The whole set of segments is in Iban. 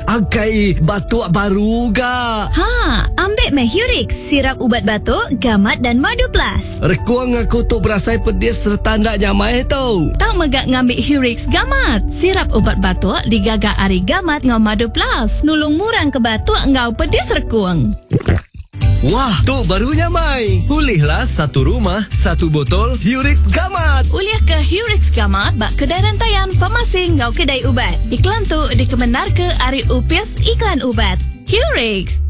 Akai batuk baru ga. Ha, ambik meh Hurix, sirap ubat batuk, gamat dan madu plus. Rekung aku tu berasai pedis sereta enda nyamai tu. Tau mega ngambi Hurix Gamat, sirap ubat batuk digaga ari gamat enggau madu plus, nulung murang ke batuk enggau pedis rekung. Wah, tu baru nyamai. Ulihlah satu rumah, satu botol Hurix Gamat. Ulih ke Hurix Gamat ba kedai rentayan, farmasi enggau kedai ubat. Iklan tu dikemendarka ari Opis Iklan Ubat. Hurix.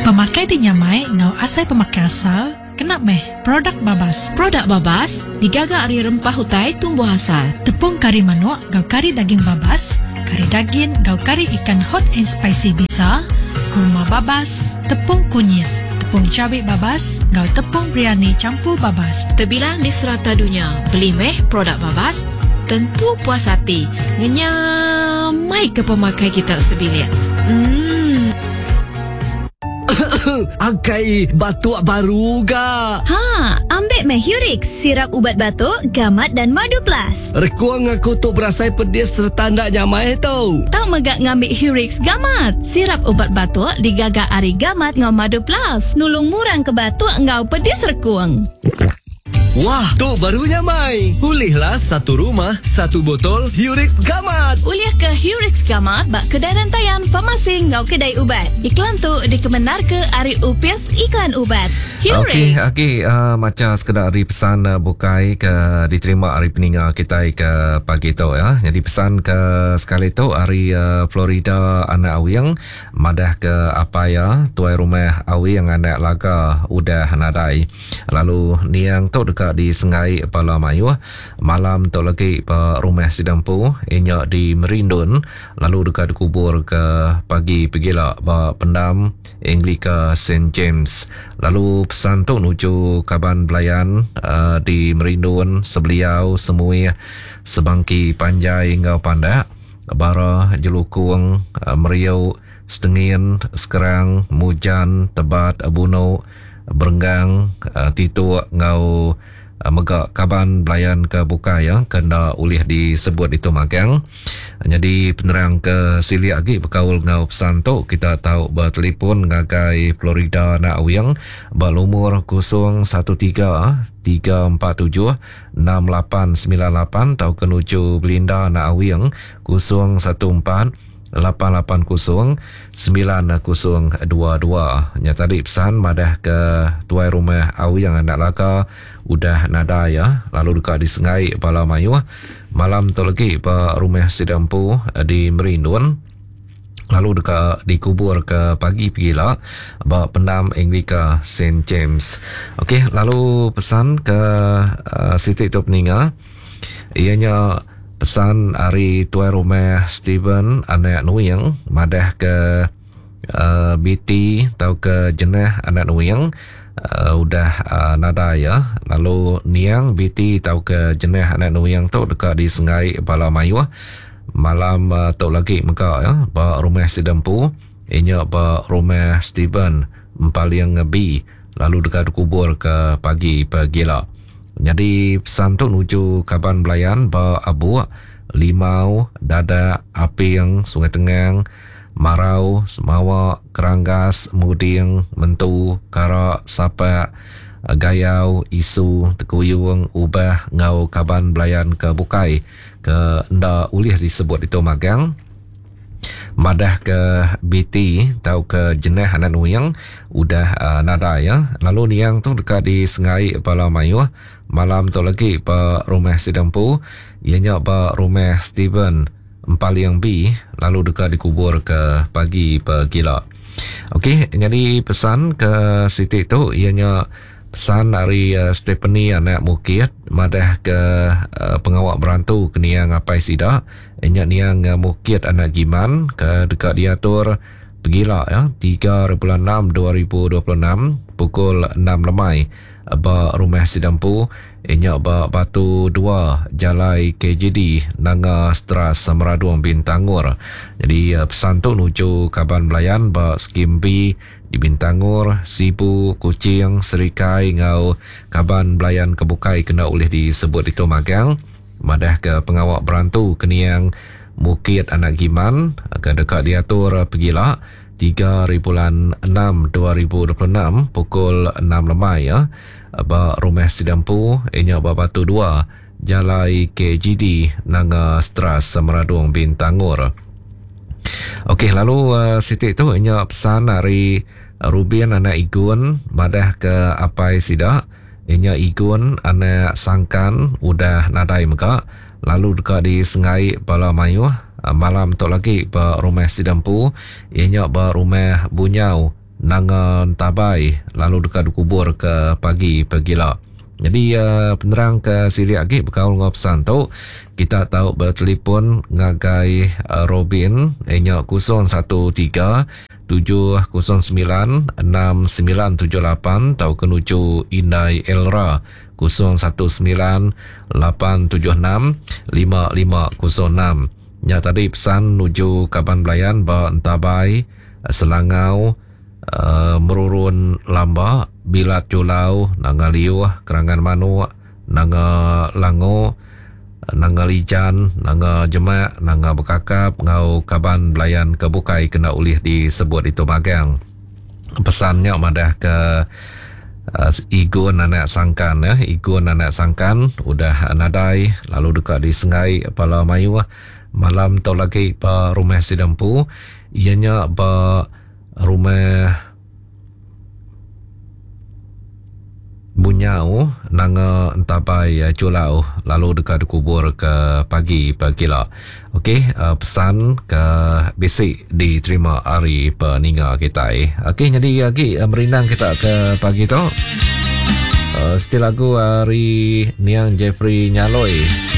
Pemakai ti nyamai enggau asai pemakai asal kena meh produk babas. Produk babas digaga ari rempah utai tumbuh asal. Tepung kari manuk enggau kari daging babas, kari dagin enggau kari ikan hot and spicy bisa, kurma babas, tepung kunyit, tepung cabi babas enggau tepung biryani campur babas. Tebilang di serata dunya, beli meh produk babas, tentu puas ati ngenyamaika pemakai kita sebilik. Emm. Akai batuk baru ga. Ha, ambik meh Hurix, sirap ubat batuk, gamat dan madu plus. Rekung aku tu berasai pedis sereta enda nyamai tu. Tau mega ngambi Hurix Gamat, sirap ubat batuk digaga ari gamat enggau madu plus, nulung murang ke batuk enggau pedis rekung. Wah, tu baru nyamai. Ulihlah satu rumah, satu botol Hurix Gamat. Ulih ke Hurix Gamat ba kedai rentayan, farmasi enggau kedai ubat. Iklan tu dikemendarka ari Opis Iklan Ubat. Okey, Hurix. agi uh, macha sekeda ari pesan uh, bukai ke diterima ari peninga kitai ke pagi tu ya. Jadi pesan ke sekali tu ari uh, Florida Anak Awing madah ke apai iya tuai rumah Awing anak Laga udah nadai. Lalu niang tu deka disenggai bala mayuh malam tu lagi ba rumah sida empu inya di Merindun lalu deka dikubur ke pagi pegila ba pendam Anglika Saint James. Lalu pesan tu nuju kaban belayan di Merindun, Sebeliau, Semuih, Sebangki Panjai enggau Pandak, Bara, Jelukung, Meriu, Setengin, Sekerang, Mujan, Tebat, Bunu, Berenggang, Tituk enggau mega kaban belayan ke bukai ke enda ulih disebut ditu magang. Nyadi penerang ke silik agi bekaul enggau pesan tu kita tau betelefon ngagai Florida Anak Awing ba lumur 013 347 6898 tauka nuju Belinda Anak Awing 014 880 9022. Nya tadi pesan madah ke tuai rumah Awing anak Laga udah nadai ya lalu deka disengai bala mayuh malam tu legi ba rumah sida empu di Merindun lalu deka dikubur ke pagi pegila ba pendam Anglika Saint James. Okey lalu pesan ke uh, siti tu peninga Iya nya pesan ari tuai rumah Steven anak Nuing madah ke uh, BT tauka jenah anak Nuing uh, udah uh, nadai ya. Lalu niang BT tauka jenah anak Nuing tu deka disengai bala mayuh malam uh, tu lagi mega ya ba rumah sida empu inya ba rumah Steven Empaling B lalu deka dikubur ke pagi pegila. Nyadi pesan tu nuju kaban belayan ba Abuk, Limau, Dadak, Aping, Sungai Tengang, Marau, Semawa, Keranggas, Muding, Mentu, Kara, Sapak, Gayau, Isu, Tekuyung, Ubah enggau kaban belayan ke bukai ke enda ulih disebut ditu magang. Madahka BT tauka jenah anak Nuing udah nadai ya. Lalu niang tu deka disengai bala mayuh malam tu lagi ba rumah sida empu iya nya ba rumah Steven Empaling B lalu deka dikubur ke pagi pegila. Okey, nyadi pesan ke siti tu iya nya Pesan ari Stephanie anak Mukit madah ke pengawa berantu ke niang apai sida nya niang Mukit anak Giman ke deka diatur pegila ya 3 bulan 6 2026 pukul 6 lemai ba rumah sida empu nya ba Batu 2 Jalai KJD Nanga Stras Meradong Bintangor. Jadi pesan tu nuju kaban belayan ba Skim B Di Bintangor, Sibu, Kuching, Serikai enggau kaban belayan ke bukai kena ulih disebut ditu magang madahka pengawa berantu ke niang Mukit Anak Giman ke deka diatur pegila 3 hari bulan 6 2026 pukul 6 lemai ya ba rumah sida empu inya ba Batu 2 Jalai KGD Nanga Stras Meradong Bintangor. Okey lalu uh, siti tu inya pesan ari Rubin anak Igun madah ke apai sida inya Igun anak Sangkan udah nadai mega lalu deka disengai bala mayuh malam tu lagi ba rumah sida empu iya nya ba rumah Bunyau Nanga Entabai lalu deka dikubur ke pagi pegila. Jadi penerang ke silik agi bekaul enggau pesan tu kita tau betelefon ngagai Robin iya nya 013 709 6978 tauka nuju Indai Elra 019 876 5506. Nya tadi pesan nuju kaban belayan ba Entabai, Selangau, Merurun Lamba, Bilat Julau, Nanga Liuh, Kerangan Manuk, Nanga Lango, Nanga Lijan, Nanga Jemak, Nanga Bekakap enggau kaban belayan ke bukai kena ulih disebut ditu magang. Pesan nya madahka Igun anak Sangkan ya, Igun anak Sangkan udah nadai lalu deka disengai bala mayuh malam tu lagi ba rumah sida empu iya nya ba rumah Bunyau Nanga Entabai Julau lalu deka dikubur ke pagi pegila. Okey pesan ke bisi diterima ari peninga kitai. Okey nyadi agi merindang kita ke pagi tu. Uh, siti lagu ari Niang Jeffrey Nyaloi.